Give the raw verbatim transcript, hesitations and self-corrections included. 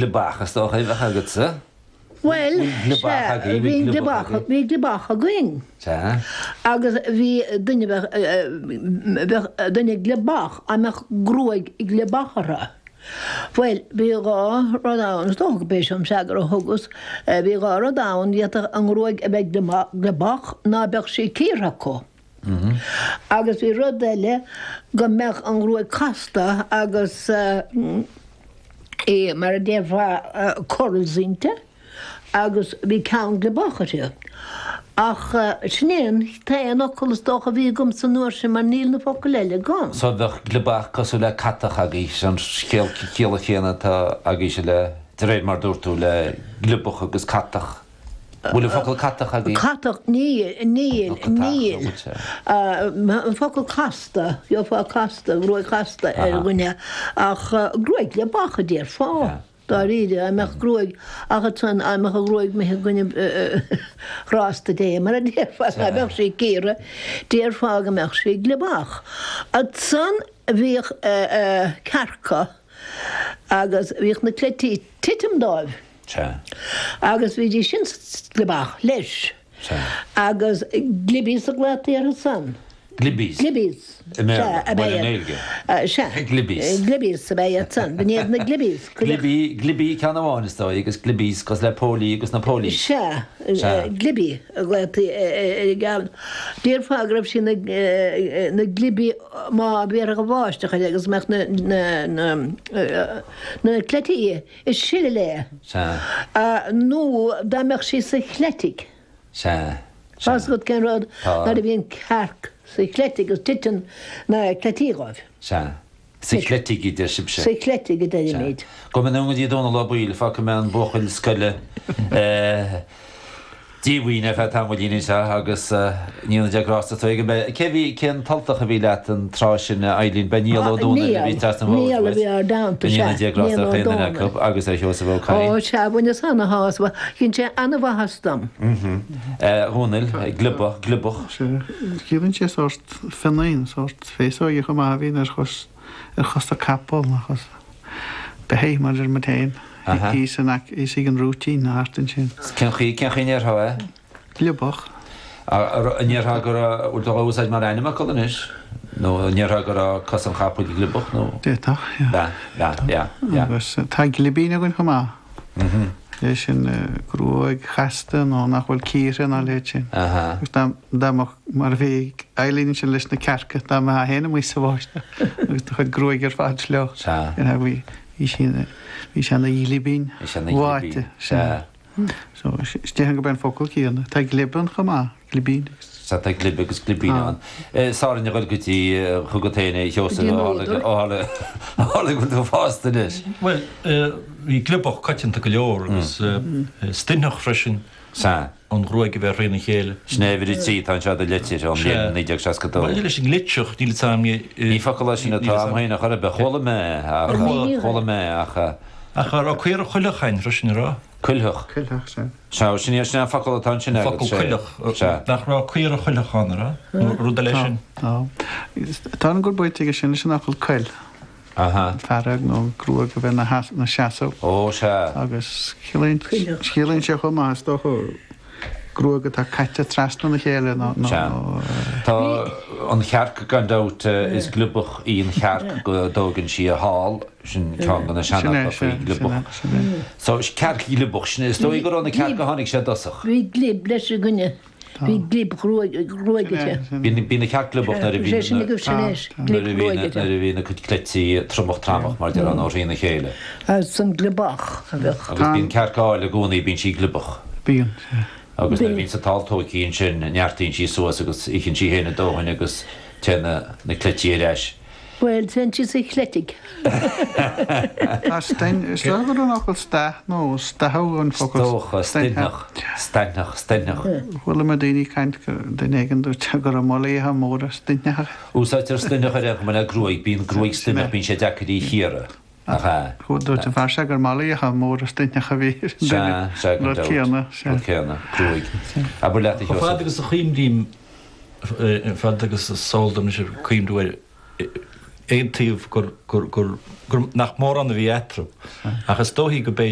Gliobach is dócha a bheadh agatsa. Bhuel, Gliobach sea, agaibh, bhí bhí gliobach gliobach, agaibh. bhí gliobach againn. Sea. Agus bhí duine bheadh, bheadh duine gliobach, a mbeadh gruaig gliobach orthu. Bhuel, bhí dhá rud ann, is dócha go b'é seo an freagra a thugas, bhí dhá rud ann, d'fhéadfadh an ghruaig a bheith gliobach ná beadh sí cíortha acu. Agus bhí rud eile, go mbeadh an ghruaig casta agus í, mar a déarfá, curls inti agus bhí ceann gliobach uirthi. Ach sin é an t-aon fhocal is dócha a bhí agamsa an uair sin mar níl na focail eile agam. So bheadh gliobach cosúil le catach agaibh, an chiall chéanna atá agaibhse le, de réir mar dúirt tú, le gliobach agus catach. Bhfuil an focal catach agaibh? Catach, níl, níl, Nó catach, nó níl. bhfuil sé? An focal casta, gheofá casta, gruaig chasta ar dhuine, ach gruaig gliobach a déarfá, dáiríre, a mbeadh gruaig, ach ansan, a mbeadh an ghruaig imithe i gcoinne ghrásta Dé, mar a déarfá, dá mbeadh sí cíortha, déarfá go mbeadh sí gliobach. Ansan bhíodh cearca agus bhíodh na cleití ag titim dóibh. Sea. Agus bhídís sin gliobach leis. Sea. Agus glibbies a ghlaotaí orthu san. Glibbies? Glibbies. I mBéarla, Sea, ab bhuel, i ea. nGaeilge. Sea. Glibbies. Glibbies ab ea iad san. B'in iad na glibbies. Glibí, glibí ceann amháin is dóigh agus glibbies cosúil le póilí agus na póilí. Sea. Sea. Glibí a ghlaotaí ar an gceann. Déarfá go raibh sí ina, ina glibí má bhéarfadh an bháisteach uirthi agus mbeadh na, na, na, na cleití ag sileadh léi. Sea. Nó dá mbeadh sí sa chleitigh. Sea. Tá 'fhios agat cén rud? Tá. Nuair a bhíonn cearc sa chleitigh agus titeann na cleití dhóibh. Sea. Sa chleitigh a deir sibhse. Sa chleitigh a deirimid. Gabhfaidh mé anonn go dtí Dónal Ó Baoill, fágfaidh mé an buachaill scoile díomhaoin ar feadh tamaillín anseo agus ní hionadh Dé grásta tú ag an mbeith. Cé bhí, cén tUltach a bhí leat an tráth sin, a Eilín? B'é Niall Ó Dónaill a bhí trasna an bhóthair Niall a uait. bhí ár dteannta, Go sea. ndéana Dia grásta Niall ar Ó chaon duine Dónaill. acu agus ar Sheosamh Ó Cadhain. Ó, sea, bhaineas ana-shásamh. Dhein sé ana-mhaitheas dom. A Dhónaill, gliobach, gliobach. Sea, ciallaíonn sé sórt fionnaín, sórt féasóige chomh maith a bhíonn ar chos, ar chosa capall, ar chos beithígh, mar a deir muid féin. Thíos in aice, thíos ag an rúitín, thart ansin. Cén chaoi, cén chaoi a ndéarfá é? Gliobach. An ndéarfá go raibh, bhfuil tú á úsáid mar ainmfhocal anois? Nó an ndéarfá go raibh cos an chapaill gliobach nó? D'fhéadfadh, yeah. Yeah, yeah, yeah, yeah. Agus tá glibín againn chomh maith. É sin gruaig chasta nó nach bhfuil cíortha ná a leithéid sin. Agus dá, dá mbeadh, mar a bhí Eileen ansin leis na cearca, dá mbeifeá féin amuigh sa bháisteach agus do chuid gruaige ar fad fliuch, Sea. bhí, Bhí sí ina, bhí sé ina ghlibín Bhí sé ina ghlibín, bháite. sea. So, is déarfainn gurb é an focal céanna. Tá glib ann chomh maith, glibín agus. Sea, tá glib agus glibín ann. Is orainn a dhul go dtí, chugat féin a Sheosaimh, Go dtí an ó tharla, údar. ó tharla, ó tharla go bhfuil tú fásta anois. Bhuel, bhí gliobach coitianta go leor agus stoinntheach freisin. Sea. An ghruaig a bheith thrína chéile. Sin é uimhir a trí atá anseo i do litir ón mbliain naoi déag seasca dó. Maidir leis an ngleitseach, níl fhios a'm. Ní focal é sin atá a'm féin a chor ar bith. Chuala mé é ach, chuala mé é ach. Ach a raibh caora choileach a'inn freisin, a raibh? Coileach. Coileach, sea. Sea, sin é, sin é an focal atá ansin agat, Focal sea. coileach. Sea. Nach raibh caora choileach ann, a raibh? Nó rud eile sin? Tá. Tá an gur baint aige sin leis an fhocal coil. Aha. Fearg nó gruaig a bheith ina seasamh. Ó, sea. Agus ciallaíonn ciallaíonn sé chomh maith, is dócha, gruaig atá caite trasna na chéile nó, nó, Sea. nó. Tá an chearc gan dabht, is gliobach í an chearc go dtógann sí a hál, sin ceann de na Sin é, seanfhocail sea, faoi sin é, gliobach. sin é. So, cearc ghliobach, sin é, is dóigh gur ó na cearca a tháinig sé i dtosach. Bhí glib leis againne. Bhí glib ghruaige. Bhí na cearc gliobach nuair a bhí nuair a bhí na cuid cleití tromach tramach mar déarfá nó thrína chéile. Agus an gliobach a bheadh. Agus bíonn cearc áil i gcónaí, bíonn sí gliobach. Bíonn. Agus nuair a bhíonn sa t-ál tóigthe ansin neartaíonn sí suas agus itheann sí féin a dóthain agus téann na cleití ar ais. Bhuel, téann sí sa chleitigh. Tá stein, is dócha gur an fhocal staith nó staitheadh an focal. Is dócha, steintheach, steintheach, steintheach. Chuala mé daoine ag caint go, duine éigin dúirt go raibh malaidhe móra steintheacha. Úsáidtear steintheach ar aon chuma le gruaig, bíonn gruaig steintheach, bíonn sé deacair í a chíoradh, nach ea? Dúirt an fear seo gur malaidhe móra steintheach a bhí ar an duine. Sea, sea, gan Rud dabht. céanna, sea. Rud céanna, gruaig. Abair leat a Chomh fada Sheosaimh. agus a chuimrím, fad agus is eol dom anois cuimhniú air, aon taobh gur gur gur gur nach mórán a bhí eatarthu. Ach is dóichí go b'fhéidir